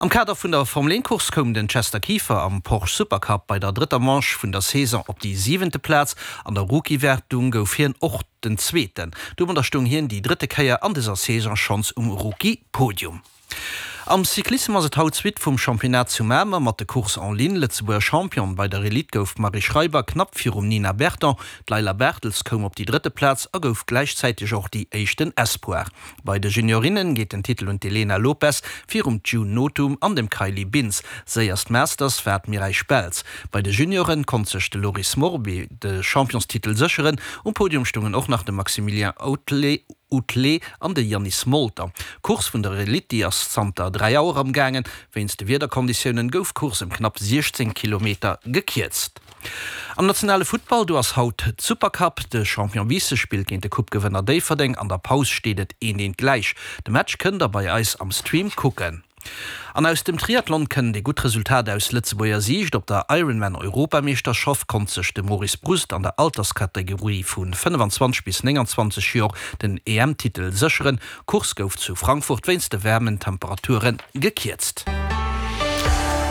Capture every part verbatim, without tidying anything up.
Am Kader vun der Formel een Course koum den Chester Kieffer am Porsche Supercup bei der drëtter Manche vun der Saison op déi siwente Plaz. An der Rookie-Wertung gouf hien och den Zweeten. Domadder stoung hien déi drëtte Kéier an dëser Saison schonns um Rookie-Podium. Am Cyclissem ass et haut d'Suite vum Championnat zu Mamer mat de Courses en ligne. Lëtzebuerger Championne bei der Elite gouf d'Marie Schreiber knapp virum Nina Berton. D'Leila Bertels koum op déi drëtte Plaz a gouf gläichzäiteg och déi éischten Espoir. Bei de Juniorinne geet den Titel un d'Elena Lopes virum June Nothum an dem Kylie Bintz. Séierst Masters war d'Mireille Speltz. Bei de Junioren konnt sech de Loris Morby de Championstitel sécheren. Um Podium stoungen och nach de Maximilien Outlé an de Yannis Molter. D'Course vun der Elite, déi ass zanter dräi Auer am gaangen. Wéinst de Wiederkonditiounen gouf d'Course ëm knapp siechzéng Kilometer gekierzt. Am nationale Futtball, do ass haut d'Supercup. De Champion Biissen spillt géint de Coupe-Gewënner Déifferdeng. An der Paus steet et eent eent gläich. De Match kënnt der bei eis am Stream kucken. An aus dem Triathlon kënnt ee gutt Resultat aus Lëtzebuerger Siicht. Op der Ironman Europameeschterschaft konnt sech de Maurice Brust an der Alterskategorie vu fënnefenzwanzeg bis nénganzwanzeg Joer den E M-Titel sécheren. D'Course gouf zu Frankfurt wéinst de waarmen Temperature gekierzt.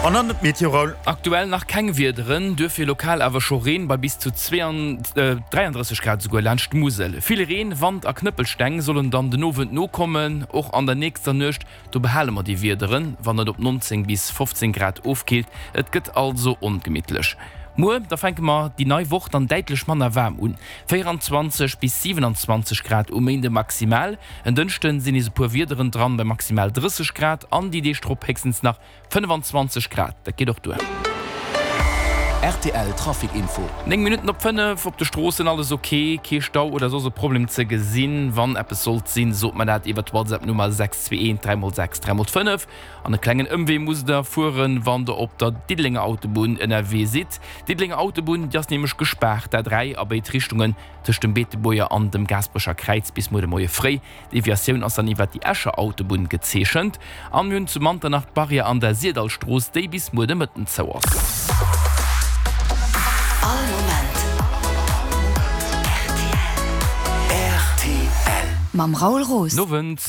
An dann d'Meteo, Raoul. Aktuell nach keng Wiederen, duerfir lokal awer scho Reen bei bis zu dräiandrësseg Grad esouguer laanscht d'Musel. Vill Reen, Wand a Knëppelsteng sollen dann den Owend nokommen. Och an der nächster Nuecht, do behale mer déi Wiederen, wann et op nonzéng bis fofzéng Grad ofkillt. Et gëtt also ongemittlech. Muer da fänke mer déi nei Woch dann däitlech manner waarm un, véieranzwanzeg bis siwenanzwanzeg Grad um Méinde maximal. En Dënschde sinn nees e puer Wiederen dran bei maximal drësseg Grad an déi Deeg drop héchstens nach fënnefanzwanzeg Grad. Dat geet och duer. R T L Trafic Info. Néng Minutten op fënnef, op de Stroossen alles ok, kee Stau oder soss e Problem ze gesinn. Wann eppes sollt sinn, sot mer dat iwwer d'WhatsApp Nummer sechs zwee eent dräi mol sechs dräi mol fënnef. An e klengen Ëmwee musst der fueren, wann der op der Diddelenger Autobunn ënnerwee sidd. D'Diddelenger Autobunn, déi ass nämlech gespaart, d'A dräi a béid Richtungen tëscht dem Beetebuerger an dem Gaasperecher Kräiz bis muer de Moie fréi. D'Deviatioun ass dann iwwert déi Escher Autobunn gezeechent. An mir hunn zu Manternach d'Barrière an der Syrdallstrooss, déi bis muer de Mëtten zou ass. All Moment rtl. Mam Raoul Roos. Nowend.